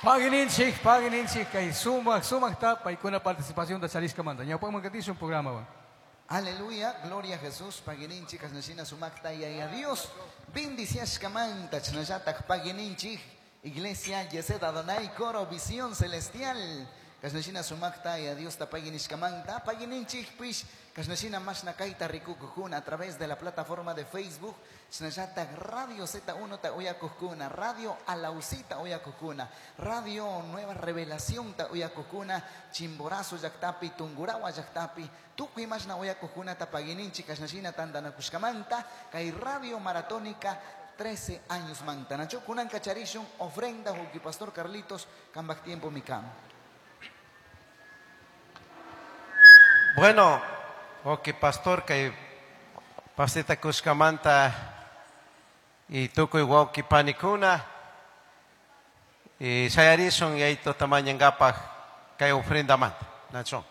Pagui ninchik, pagui ninchik, kay sumak, sumakta paykuna participación charishkamanta. Ñawpakman katishun programa. Aleluya, gloria a Jesús, paguininchik, kasnashina sumakta yaya Dios, bendiciashkamanta, chnallatak paguininchik, Iglesia Yesed Adonai, Coro Visión Celestial, kasnashina sumakta ya Dios ta paguinishkamanta, paguininchik pish, kasnashina mashna kayta rikukukuna a través de la plataforma de Facebook, chnallatak Radio Z1 ta uyakukuna, Radio Alausita uyakukuna, Radio Nueva Revelación ta uyakukuna, Chimborazo llaktapi, Tungurahua llaktapi, tukuy mashna uyakukuna ta paguininchik, kasnashina tantanakushkamanta, kay Radio Maratónica 13 años manta. Nacho kunan kacharishun ofrenda huki Pastor Carlitos kambak tiempo mikam. Bueno, ok, pastor, kay pasita kushkamanta y tukuy wawki panikuna y shayarishun yayto tamañangapaj kay ofrenda manta. Nacho.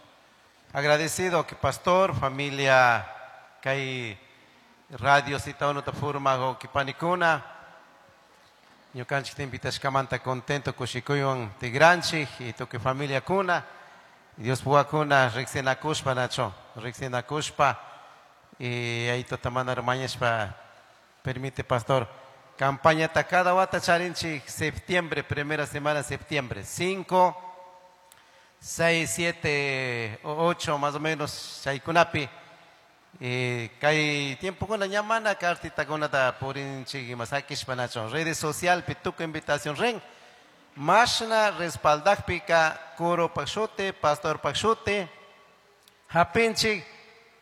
Agradecido que pastor, familia, kay radio sita uno ta forma wawki panikuna. Ñukanchik invitashkamanta contento kushikuywan tigranchik y tukuy familia kuna. Dios puwakuna riksinakushpa nacho, riksinakushpa y ayto tamana hermañashpa permite pastor campaña ta cada wata charinchik septiembre, primera semana de septiembre, 5, 6, 7, 8 más o menos chaykunapi. Y kay tiempo kuna ñamana cartita kunata purinchik imasakishpa nacho, redes social pi tukuy invitación ren. Mashna respaldakpika coro pakshuti, pastor pakshuti, hapinchik,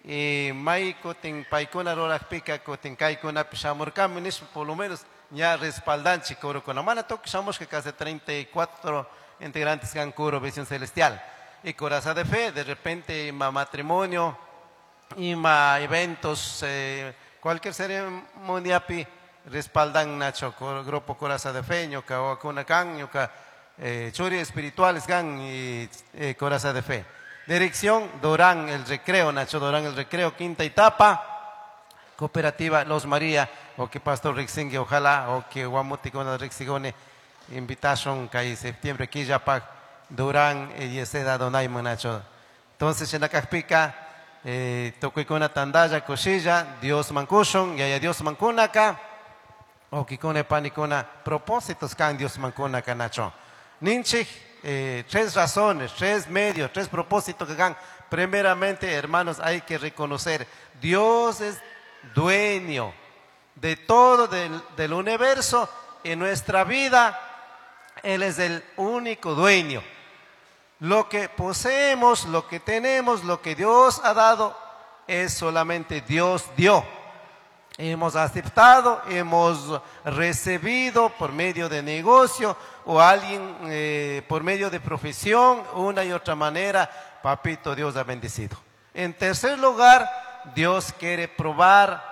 y may kutin paykuna rurakpika kutin kaykunapi shamurkami nishpa por lo menos ña respaldanchik corokuna. Mana tukuy shamushka casi 34 integrantes kan coro Visión Celestial. Y Coraza de Fe, de repente ima matrimonio, ima eventos, cualquier ceremonia pi respaldan Nacho, grupo Coraza de Fe, ñuka wakuna kan, ñuka churi espirituales kan y Coraza de Fe. Dirección Durán el Recreo, Nacho Durán el Recreo, quinta etapa, Cooperativa Los María, o que Pastor Rixingui, ojalá, o que Guamuticona Rixigone, invitación que septiembre, Quillapag, Durán y Yesed Adonai, Nacho. Entonces, en la Cajpica, Tocuicona Tandaya, Cochilla, Dios Mancushon, Yaya Dios Mancunaca, o Kikone Panicona, propósitos can Dios Mancuna Canacho. Ninchik, tres razones, tres medios, tres propósitos que hagan. Primeramente, hermanos, hay que reconocer, Dios es dueño de todo del universo. En nuestra vida, Él es el único dueño. Lo que poseemos, lo que tenemos, lo que Dios ha dado, es solamente Dios dio. Hemos aceptado, hemos recibido por medio de negocio o alguien por medio de profesión, una y otra manera, papito Dios ha bendecido. En tercer lugar, Dios quiere probar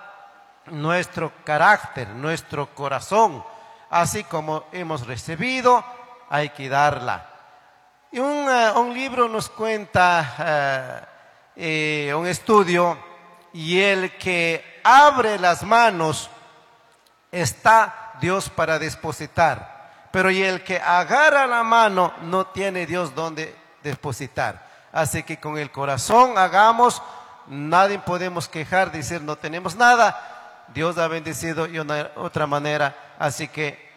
nuestro carácter, nuestro corazón. Así como hemos recibido, hay que darla. Y un libro nos cuenta, un estudio, y el que abre las manos está Dios para depositar, pero y el que agarra la mano no tiene Dios donde depositar. Así que con el corazón hagamos, nadie podemos quejar, decir no tenemos nada. Dios ha bendecido de una otra manera, así que